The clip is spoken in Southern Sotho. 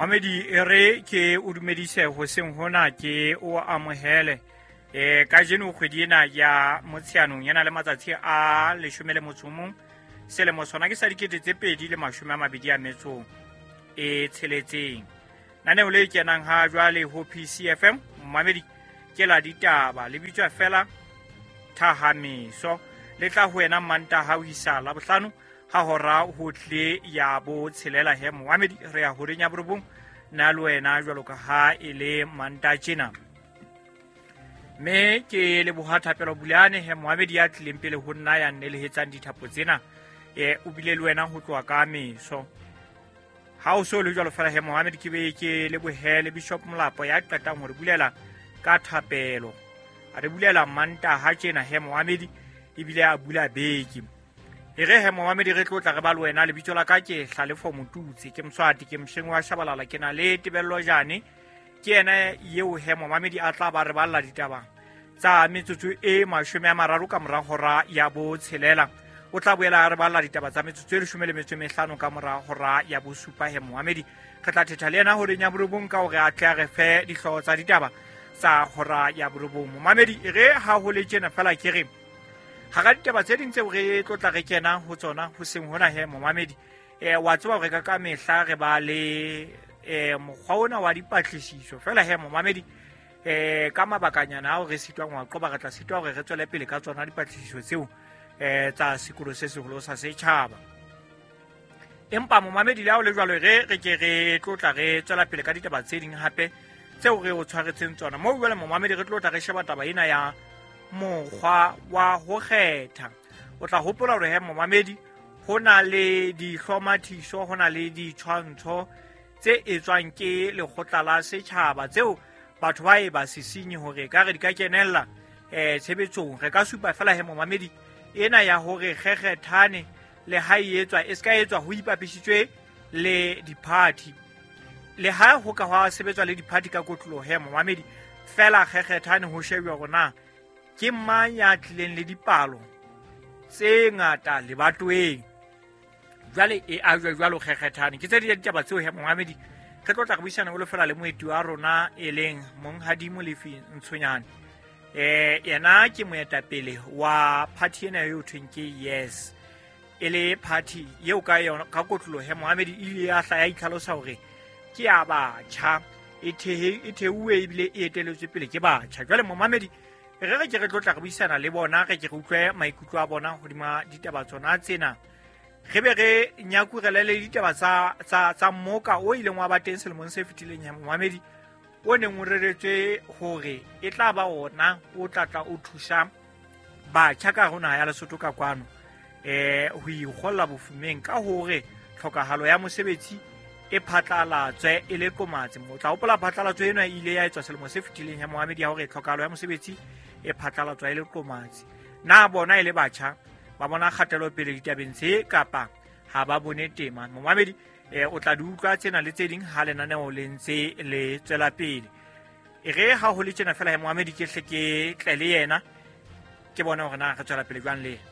Mamedi, e re ke o dumedise hoseng hona, ke o amohele. Kajeno kgwedi ena ya Motsheanong e na le matsatsi a 11, selemo sona ke sa 2026. Naneo le kenang ha jwale ho PCFM, mamedi, ke la ditaba, le bitswa fela Thahameso. Le tla ho wena Mantaha ho isa Labohlano ha hora ho tle ya 6 he momamedi, re ya horeng ya 9 nna le wena jwalo ka ha e le Mantaha tjena. Mme ke leboha Thapelo Bulane he momamedi ya tlileng pele ho nna ya nnelehetsang dithapo tsena, o bile le wena ho tloha ka meso. Ha o so le jwalo fela he momamedi, ke be ke lebohele Bishop Molapo ya qetang ho re bulela ka thapelo. A re bulela Mantaha tjena he momamedi, ebile a bula beke. E re he momamedi, re tlotla re ba le wena. Lebitso la ka ke Hlalefo Motutsi, ke Moswati, ke mosheng wa Shabalala, ke na le Tebello Jane. Ke yena eo he momamedi a tla ba re balla ditaba tsa metsotso e 30 ka mora hora ya 6. O tla boela a re balla ditaba tsa metsotso e 15 ka mora hora ya 7 he momamedi. Re tla thetha le yena horeng ya 9 ka hore a tle a re fe dihlooho tsa ditaba tsa hora ya 9. Momamedi, e re ha ho le tjena fela ke re hara ditaba tse ding tseo re tlotla re kena ho tsona hoseng hona he momamedi, wa tseba hore ka mehla re ba le mokgwa ona wa dipatlisiso fela he momamedi, ka mabakanyana ao re sitwang wa qoba, re tla sitwa hore re tswele pele ka tsona dipatlisiso tseo tsa sekolo se seholo sa setjhaba. Empa momamedi, le ha o le jwalo, re re ke re tlotla re tswela pele ka ditaba tse ding hape tseo re o tshwaretseng tsona. Moo jwale momamedi, re tlotla re sheba taba ena ya mokgwa wa ho kgetha. O tla hopola hore he momamedi, ho na le dihlomathiso, ho na le ditshwantsho tse etswang ke lekgotla la setjhaba tseo batho ba e ba sisinye hore ka re di ka kenella tshebetsong. Re ka supa fela he momamedi ena ya hore kgekgethane le ha e etswa, e se ka etswa ho ipapisitswe le diphathi, le ha ho ka hwa sebetswa le diphathi ka kotloloho he momamedi, fela kgekgethane ho shebjwa hore na ke mang ya tlileng le dipalo tse ngata lebatoweng. Jwale e ajwe jwalo kgekgethane. Ke tse di ditaba tseo he momamedi re tlo tla re buisana o fela le moeti wa rona e leng Monghadi Molefi Ntshonyane. Yena ke moetapele wa party ena eo thweng ke Yes, e le party eo ka yona ka kotloloho he momamedi e ile ya hla ya itlhalosa hore ke ya batjha, e theuwe ebile e eteletswe pele ke batjha. Jwale momamedi, re re ke re tlotla re buisana le bona, re ke re utlwe maikutlo a bona hodima ditaba tsona tsena, re be re nyakurele le ditaba tsa mmoka o ileng wa ba teng selemong se fetileng ya momamedi, o neng o reretswe hore e tla ba ona o tla tla o thusa batjha ka hare ho naha ya Lesotho ka kwano, ho ikgolla bofumeng ka hore tlhokahalo ya mosebetsi e phatlalatswe e le qomatsi. O tla hopola phatlalatso ena e ile ya etswa selemo se fetileng ya momamedi ya hore tlhokahalo ya mosebetsi e phatlalatswa e le qomatsi. Na bona e le batjha ba bona kgatelopele ditabeng tse kapa ha ba bone tema? Momamedi, o tla di utlwa tsena le tse ding ha lenaneo le ntse le tswela pele. E re ha ho le tjena fela he momamedi, ke hle ke tle le yena ke bone hore na re tswela pele jwang le yena.